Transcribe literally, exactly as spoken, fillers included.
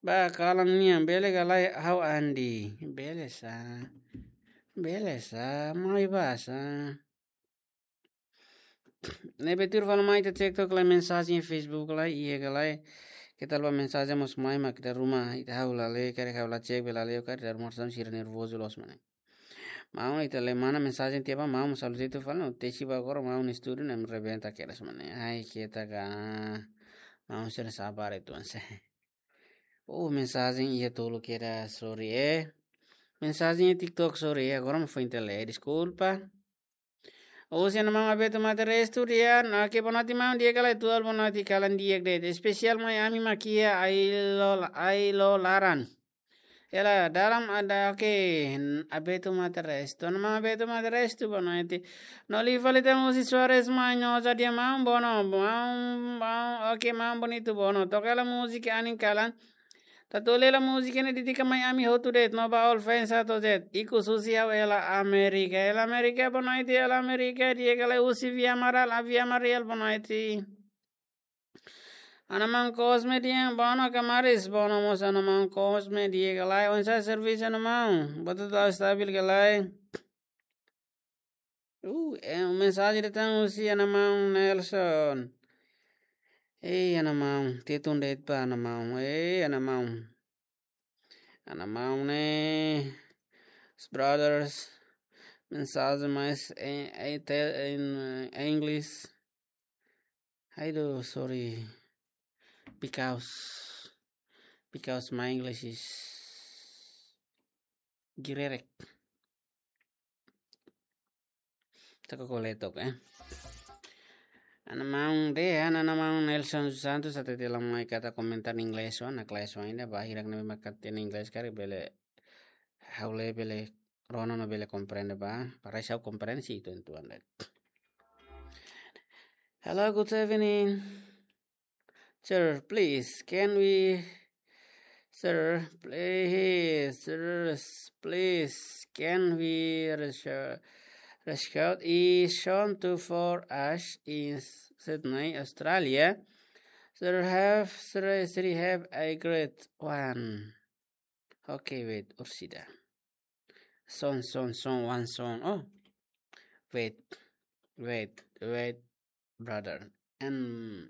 Ba kalan nian, bele ka lae ha'u Andi? Bele sa. Bele sa, mai ba sa. Ne'ebé tuir fali mai ita cek tok lai mensajen Facebook lai, iha ka lae. Keta lupa mensajen mós mai mak ita ruma, ita ha'u la lee, karik ha'u la cek bele lee, karik ita ruma sama sira nervozu loos mane. Maun ita lee mana mensajen tiha ba, maun salu situ fali, no tesi ba agora maun estúdiu ne'e rebenta kedas mane. Ai, keta ka. Maun sira sabar itu anse. Oh, mensajen iha tolu kedas, sorry, eh. Mensajen iha TikTok, sorry, eh. Agora mak foin ita lee, deskulpa. Husi Ana Maun Abeto Mate Restu, di'ak, oke, boa noite maun, di'ak ka lae? Atuál boa noite, kalan di'ak de'it. Espesiál mai ami mak iha Ailo, Ailo laran. Ela dalam ada, oke, Abeto Mate Restu. Ana Maun Abeto Mate Restu, boa noite. No liu fali tan husi Soares Manhosa, di'ak maun, boa no, maun, maun, oke, maun bonitu, boa no. Toka hela múzika anin kalan. Tatu lela múzika ne'e dedika mai ami hotu de'it, no ba all fans atu zet. Ikus husi ha'u Ela Amérika. Ela Amérika, boa noite, Ela Amérika, di'ak ka lae? Husi Via Amaral, a Via Amaral, boa noite. Ana Maun Cosme, di'ak, boa no ka maris? Boa no mós Ana Maun Cosme, di'ak ka lae? Oinsá servisu Ana Maun? Buat hotu estabil ka lae? Uh, eh, mensajen datang husi Ana Maun Nelson. Eh, Ana Maun, tetun de'it ba Ana Maun. Eh, Ana Maun. Ana Maun ne'e, brothers, mensajen mais em, em, te- em, eh, English. Ai do, sorry. Because, because my English is girerek. Taka koletok, eh. Ana Maun de, ana, Ana Maun Nelson Santos, atu tela mai katak komentar inglés, wan, na kelas wan, ida ba hirak ne'ebé mak katak inglés karik bele, ha'u lee bele, rona no bele komprende ba, para ha'u komprende si itu entuan de. Hello, good evening. Sir, please, can we, sir, please, sir, please, can we reach, reach out is shown to for us in Sydney, Australia. Sir, have, sir, sir, have a great one. Okay, wait, Ursida. Son, son, son, one son. Oh, wait, wait, wait, brother. And